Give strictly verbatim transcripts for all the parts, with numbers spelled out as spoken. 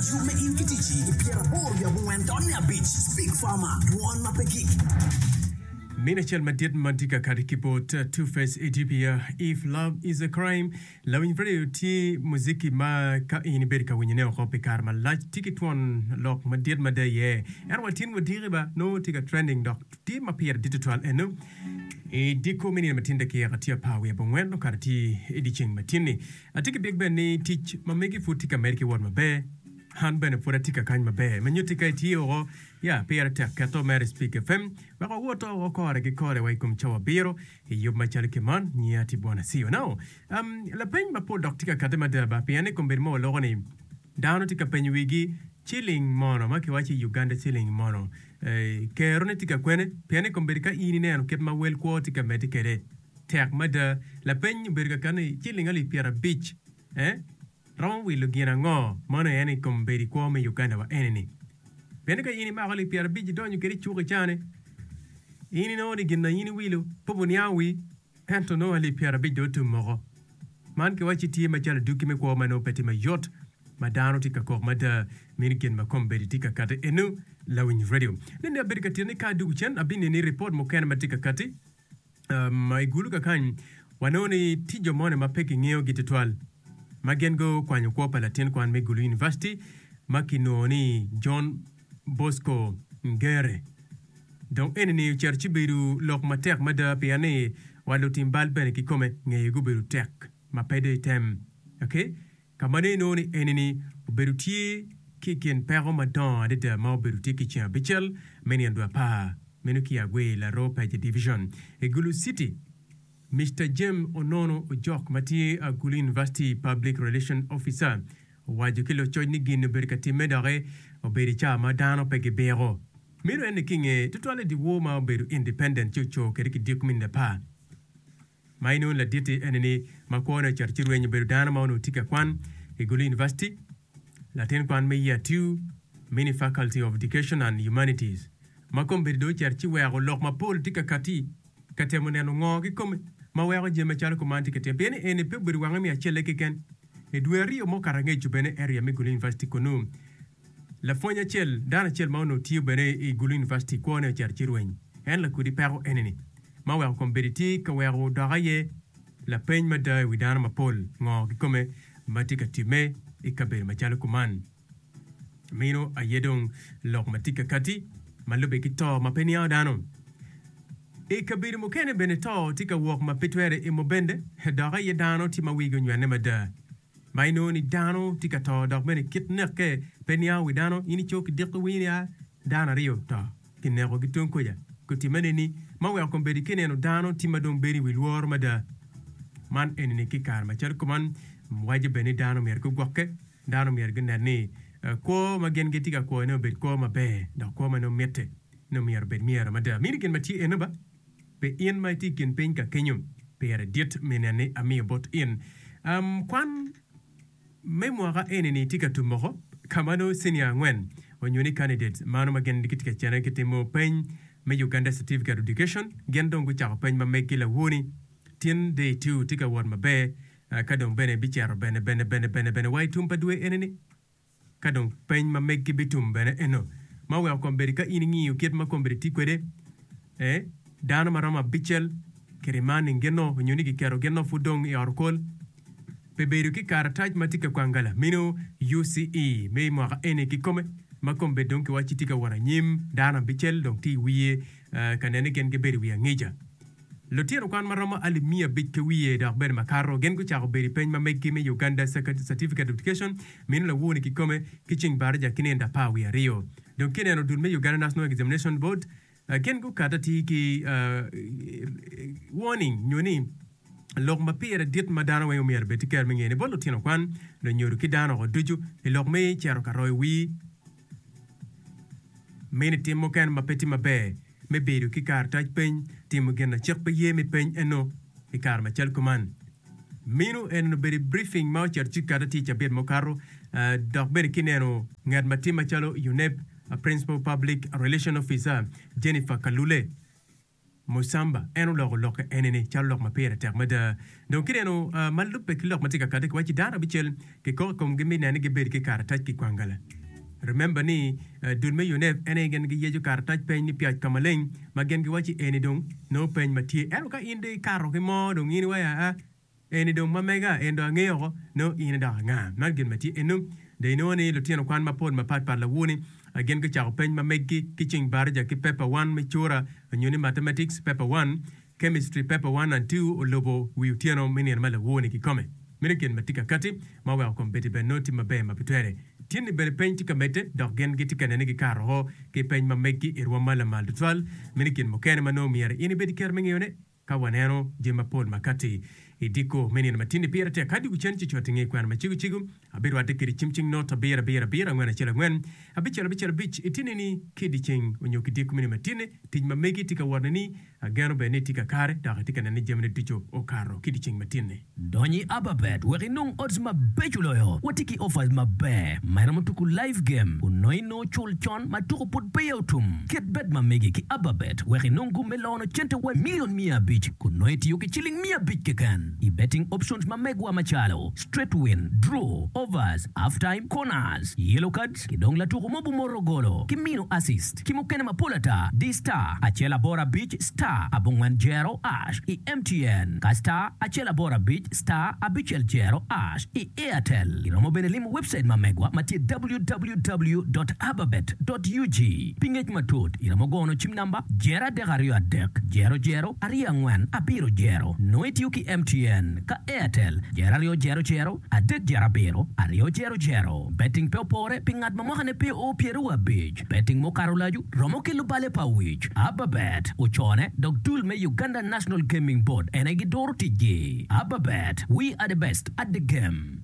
Yub me in ki ticci i pyeraboro wiye abongwen tonne abic. Speak Farmer, dwon ma pe gik. Mine acel madit ma tye ka kati ki bot Two Face Idibia, If Love Is a Crime. Lawiny radio tye muziki ma ka in ibedo ka winyone oko pi kare malac tye ki twon lok madit mada iye. Ento wa tin wadiki ba nongo tye ka trending dok tye ma pire dit tutwal eno i diko me nino matin dakika tye apar wiye abongwen okato tye i dyeceng matin-ni. Atye ki byek bene ni tic ma megi pud tye ka medde ki wot maber. An bene pud atye ka kany maber ma nyutti ka itye oko ya pire tek keto mere Speak F M wek wawoto oko kore ki kore wa i kom cawa abiro i yub macalo ki man nyiya tye bwana C E O now. Um, lapeny mapol dok tye ka kati mada ba pien i kombeddi mo waloko ni dano tye ka penyo wigi ciling mono ma kiwaco i Uganda ciling mono eh, kerone tye ka kwene pien i kombeddi ka in ineno kit ma wel kwo tye ka medde kwede tek mada. Lapeny obedo ka kati ni ciling alip pyerabic eh, romo wilo gin ango mano en i kombeddi kwo me Uganda wa eni-ni pien ka in imako alip pyerabic idonyo kwede i cuk icane in inongo ni gin na in iwilo pe buniango wi ento nongo alip pyerabic dong otum moko. Man kiwacci tye macalo adwogi me kwo ma nongo pe tye mayot ma dano tye ka kok mada mini gin ma kombeddi tye ka kati eno. Lawiny radio nene abedo ka tito ni ka adwogo cen abineni ripot mukene ma tye ka kati um, i Gulu kakany wanongo ni tye jo moni ma pe kingeyogi tutwal ma gin gukwanyo kwo pa latin kwan me Gulu University ma kinongo ni John Bosco Ngere. Dong eni-ni ocito ci bedo lok matek mada pien ni wa lutim bal bene kikome ngeye gubedo tek ma pe dong item. Okay? Ka ma nongo inongo ni eni-ni obedo tye ki i kin peko madongo adada ma obedo tye ki ceng abicel me nino dwe apar meno ki Agwe Laro Paje Division i Gulu City. Mister James Onono Ojok ma tye Gulu University Public Relation Officer owaco ki lucoc ni gin obedo ka timme doki obedo i cawa ma dano pe gibiko. Meno en ni ki nge tutwal i dyewor ma obedo independent ci oco kwede ki dyek miniti apar. Ma inongo ladit-ti eni ni ma kwone ocito ci rweny obedo dano ma onongo tye ka kwan i Gulu University, latin kwan me year two, mini Faculty of Education and Humanities ma kombeddi dong ocito ci weko lok mapol tye ka kati ka temo neno ngo kikome ma weko jami macalo kuman tye ka timme pien ni eni pe obedo wange me acelle keken. I dwe aryo mukato angec bene area me Gulu University kunu lapwony acel dano acel ma onongo tiyo bene i Gulu University kwone ocito ci rweny en lakudi peko eni-ni ma weko kombeddi tye ka weko dok aye lapeny mada i wi dano mapol ngo kikome ma tye ka timme i kabedo macalo kuman. Meno aye dong lok ma tye ka kati ma lubbe ki to ma pe niango dano. I kabedo mukene bene to tye ka wok ma pe twere i mubende dok aye dano tye ma wigi onywene mada. Ma inongo ni dano tye ka to dok bene kit nekke pe niango wi dano in ico ki diko winyo ni a dano aryo to kineko ki tung kuca gutimme nini ma weko kombeddi ki neno dano tye ma dong bedo i wi lworo mada. Man enini ki kare macalo kuman waco bene ni dano myero gugwokke. Dano myero gunen ni kwo ma gin gitye ka kwone obed kwo maber dok kwo ma nongo mitte nongo myero obed myero mada. Mini gin ma tye eno ba pi in ma itye i kin piny ka kenyo pire dit me nen ni amiyo bot in. Um, kwan me mwaka eni-ni tye ka tum oko ka ma nongo senior angwen onyo ni candidates mano ma gin gitye ka cene gitimo peny me Uganda Certificate of Education gin dong gucako peny ma meggi lawoni tin day two tye ka wot maber. Ka dong bene bicito bene bene bene bene bene wa i tum pa dwe eni-ni, ka dong peny ma meggi bitum bene eno, ma oweko kombeddi ka in ingiyo kit ma kombeddi tye kwede, ee, dano ma romo abicel kirimani gin-no onyo ni giketo gin-no pud dong i ot okol pi bedo ki karatac ma tye ka kwangala meno U C E me mwaka eni kikome ma kombeddi dong kiwacci tye ka wot anyim, dano abicel dong tye i wiye ka nene gin gibedo i wi angica. Lutino kwan ma romo alip miya abic ki wiye dok bene makato gin gucako bedo i peny ma meggi me Uganda Certificate of Education mino lawoni kikome ki ceng baraja ki nino apar wiye aryo. Dong kineno dul me Uganda National Examination Board gin gukato atir ki warning nyo ni lok ma pire dit ma dano weng omyero obed ki kero me ngene bot lutino kwan, lunyodo ki dano oko ducu i lok me cito ka royo wir mini tim mukene ma pe tye maber me bedo ki karatac peny, timo gin na cik pe ye me peny eno i kare macalo kuman. Meno en obedo i briefing ma ocito ci kata tye i cabit mukato dok bene ki neno ngat ma tye macalo UNEB Principal Public Relation Officer Jennifer Kalule. Musamba en oloko lokke enini calo lok ma pire tek mada. Dong kineno uh, ma lubbe ki lok ma tye ka kati kiwaci dano abicel kikoko i komgi mi nene gibedo ki karatac ki kwangala. Remember ni uh, dul me UNEB en aye gin giyeco karatac peny ni piac ka maleng ma gin giwaci eni dong nongo peny ma tye. Ento ka in dong ikato ki mo dong in iwaci aa eni dong ma mega en dong angeyo oko nongo in idok anga. Man gin ma tye eno. Dong inongo ni lutino kwan mapol mapatpat lawoni gin gucako peny ma meggi ki ceng baraja ki paper one me cura onyo ni mathematics paper one, chemistry paper one and two olubo wi otyeno me nino ma lawoni kikome. Meno gin ma tye ka kati ma oweko kombeddi bene nongo tye maber ma pe twere. Tyeni bene peny tye ka medde dok gin gitye ka nene gikato oko ki peny ma meggi i rwom ma lamal tutwal. Meno gin mukene ma nongo myero in ibed ki kero me ngeyone ka waneno jami mapol ma kati i diko me nino ma tye-ni pire tek. Ka dwogo cen ci cot i nge kwena ma cego cego, abirwatte kedi cim cing not abiro abiro abiro angwen acel angwen abicel abicel abic i tyeni-ni ki i dyeceng onyo ki diko me nino ma tye-ni. Tic ma megi tye ka wot-ni ageno bene ni itye kakare dok itye ka neno ni jamine ducu okato ki dyeceng ma tye-ni. Dony i Ababet wek inong odds mabeco loyo. Watye ki offers maber ma iromo tuku live game kun nongo inongo cul con ma tuku pud peya otum. Ket bet ma megi ki Ababet wek inong gum me lono cente wa million miya abic kun nongo itiyo ki ciling miya abic keken i betting options ma megwa macalo straight win, draw, overs, half time, corners, yellow cards ki dong latuku mo bumoro golo ki mino assist ki mukene mapol ata. Di star acel aboro abic star abongwen jero ash i M T N ka star acel aboro abic star abicel jero ash i Airtel. Iromo bene limo website ma megwa ma tye W W W dot ababet dot U G. Pi ngec matut iromo gono cim namba jero adek aryo adek jero jero aryo angwen abiro jero. Nongo itiyo ki M T N ka Airtel jero aryo jero jero adek jero abiro aryo jero jero. Betting pe opore pi ngat ma mwakane pe o pyeraryo abic. Betting mukato olacu romo kelo bale pa wic. Ababet ocone dok dul me Uganda National Gaming Board en aye gidoro ticgi. Ababet, we are the best at the game.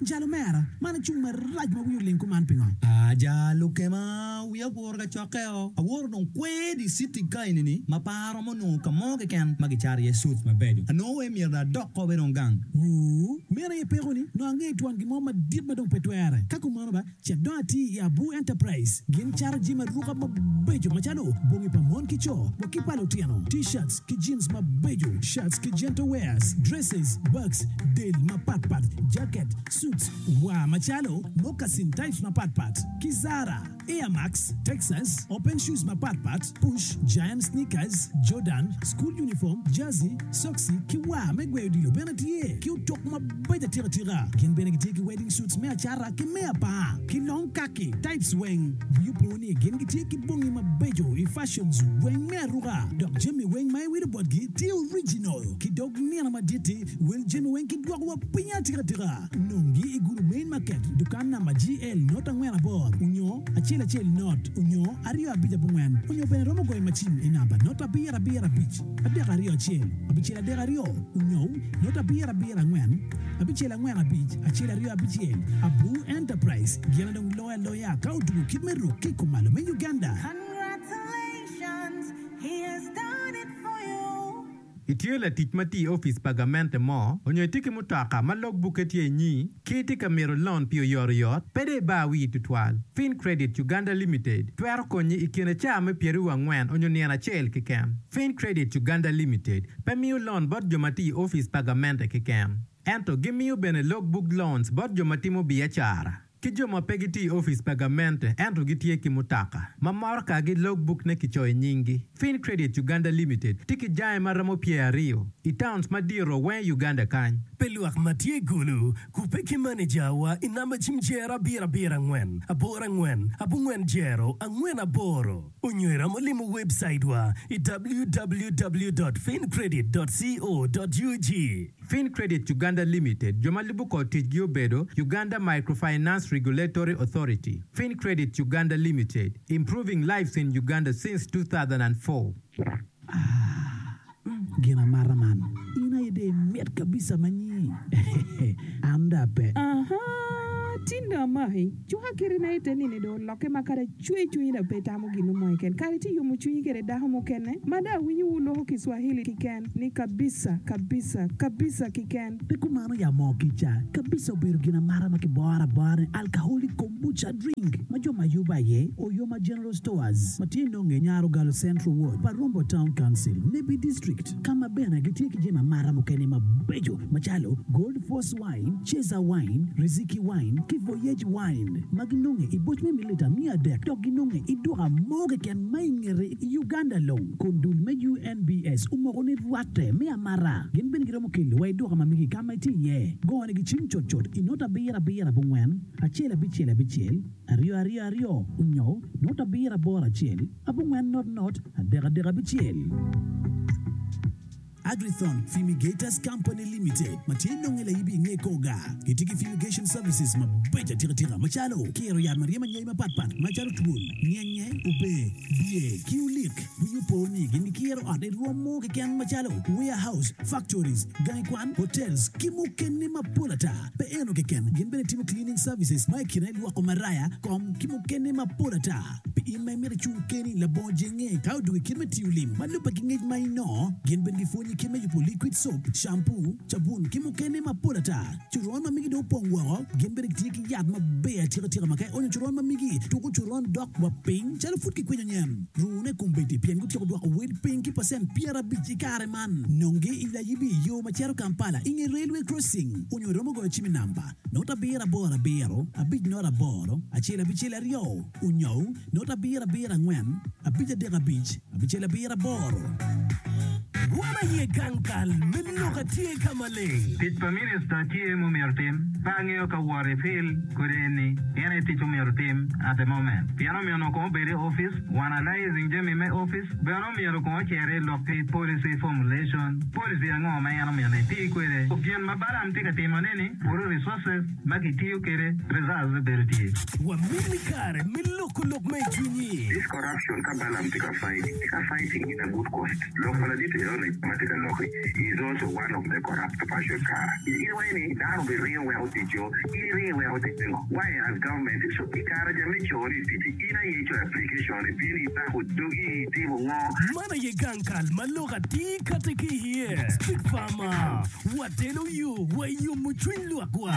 Jalo mera, man acung marac ma wiyo oling kuman pingo? Aja lukema wiya oguro ka cokkeo aworo dong kwer i city ka enini ma pe aromo nongo ka mo keken ma gicato iye suits mabeco anongo we myero adok ko bene dong gang. Wuu, meno aye peko-ni, nongo angeyo twon gin mo madit ma dong pe twere. Ka kumano ba, cit dong ati i Abu Enterprise. Gin cato jami aruka mabeco macalo bongi pa mon ki co, wa ki pa lutino, t-shirts ki jeans mabeco, shirts ki gentle wears, dresses, bags, del mapatpat, jacket, suits, wa macalo moccasin types mapatpat, ki Zara, Air Max, Texas, open shoes mapatpat, push, giant sneakers, Jordan, school uniform, jersey, socks, ki wa me gweyo odilo bene tye, ki otok mabeco atika atika. Gin bene gitye ki wedding suits me acara ki me apar, ki long khaki types weng. Wiyi opo ni gin gitye ki bongi mabeco i fashions weng me aruka, dok jami weng ma iwilo botgi tye original. Ki dog nino madit-ti, wel jami weng ki dwoko wa piny atika atika. Nongi i Gulu Main Market, dukan namba G L not angwen aboro, onyo acel acel not, onyo aryo abic abongwen, onyo bene romo goyo macin i namba not abiro abiro abic, adek aryo acel, abicel adek aryo, onyo not abiro abiro angwen, abicel angwen abic, acel aryo abicel. Abu Enterprise, gin dong loyo aloya ka otugo kit me ruk ki kumalo me Uganda. Congratulations, he has done it for you. Itye latic ma tye i opic pa gamente mo onyo itye ki mutoka ma logbukke tye inyi ki itye ka mito loan pi oyotoyot pe dong ibar wii tutwal. Fin Credit Uganda Limited twero konyi i kine caa me pyeraryo angwen onyo nino acel keken. Fin Credit Uganda Limited pe miyo loan bot jo ma tye i opic pa gamente keken. Ento gimiyo bene logbook loans bot jo ma timo biacara ki jo ma pe gitye i opic pa gamente ento gitye ki mutoka ma motokagi logbook ne kicoyo i nyinggi. Fin Credit Uganda Limited tye ki jange ma romo pyer aryo i towns madito weng Uganda kany. Pe lwak ma tye i Gulu, kubbe ki maneja wa i namba cim jero abiro abiro angwen, aboro angwen, abongwen jero, angwen aboro. Onyo iromo limo website wa i W W W dot fincredit dot co dot U G. Fin Credit Uganda Limited jo ma lubo kor ticgi obedo Uganda Microfinance Regulatory Authority. Fin Credit Uganda Limited, improving lives in Uganda since two thousand four. Gin amata man, in aye de imit kabisa manyi. An da pe. Aha, tinda amari. Mahi, cuka kiri na ite nini do olokke ma kadi cwe cwinyi dong pe itamo gin mo keken. Kadi tye yomo cwinyi kede dako mukene, ma dong awinyo wu loko Kiswahili kiken ni kabisa, kabisa, kabisa kiken. Pe kumano ya moo kica, kabisa obedo gin amata ma kiboro abora ni alcoholic kombucha drink ma jo ma yubo aye Oyoma General Stores ma tye nonge Nyarogalo Central Ward, Parumbo Town Council, Nebbi District, ka ma bene gitye ki jami amata mukene mabeco macalo Gold Force Wine, Cheza Wine, Riziki Wine ki Voyage Wine ma ginonge i boc me mililita miya adek dok ginonge i duka mo keken ma i ngete i Uganda long kun dul me U N B S omoko ni rwatte me amata. Gin bene giromo kelo wa i duka ma megi ka ma itye iye. Gone gi cim cutcut i not abiro abiro abongwen acel abicel abicel aryo aryo aryo onyo not abiro aboro acel abongwen not not adek adek abicel. Agrithon Fumigators Company Limited ma tye nonge laibi i nge koga gitye ki fumigation services mabeco atikatika macalo kiro yat ma ryemo anyai mapatpat macalo twol, nyenye, obe, bye ki olik. Winyo po ni gin gikiro ot i rwom mo keken macalo warehouse, factories, gangi kwan, hotels ki mukene mapol ata. Pe eno keken, gin bene timo cleaning services ma i kine lwoko maraya, kom ki mukene mapol ata. Pi in ma imito icung keni labongo jenge ka odwogo i kit me tiyo lim ma lubbe ki ngec ma inongo, gin bene gipwonyi kit me yubo liquid soap, shampoo, cabun ki mukene mapol ata. Coron ma migi dong opong woko, gin bene gitye ki yat maber atikatika ma ka ionyo coron ma migi tuko coron dok wa piny calo pud kikwinyo nyen. Rune kombeddi pien gutyeko dwoko wel piny ki pacent pyerabic i kare man. Nongi i Layibi i yo ma cito Kampala i nge railway crossing onyo iromo goyo cim i namba not abiro aboro abiro abic not aboro acel abicel aryo onyo not abiro abiro angwen abic adek abic abicel abiro aboro. Wan aye gang kal me lok atye ka maleng. Tic pa minista tye mumyero tim, pe angeyo ka wot i field kodi eni en aye tic omyero tim at the moment. Pien omyero onongo kong obed i office, wan analyzing jami me office, bene omyero kong ocer i lok ki policy formulation, policy ango ma en omyero eti kwede. Gin ma Balaam tye ka timone ni, puro resources ma kitiyo kwede, results bedo tye. Wamini kare me loko lok me i cwinyi. This corruption ka Balaam tye ka fight, tye ka fighting in a good cause. Lok pa ladit enoni ma tye ka loki is also one of the corrupt person kara. In iwaco ni dano obiringo weko ticco, in iringo iweko tic pingo? Why as government? So i kare ja me cori i ticci, in aye icoyo application, ibino ibako dogi itimo ngo? Man aye gang kal ma lok atir kati ki iye. Speak Farmer, watelo yo wa yomo cwiny lwakwa.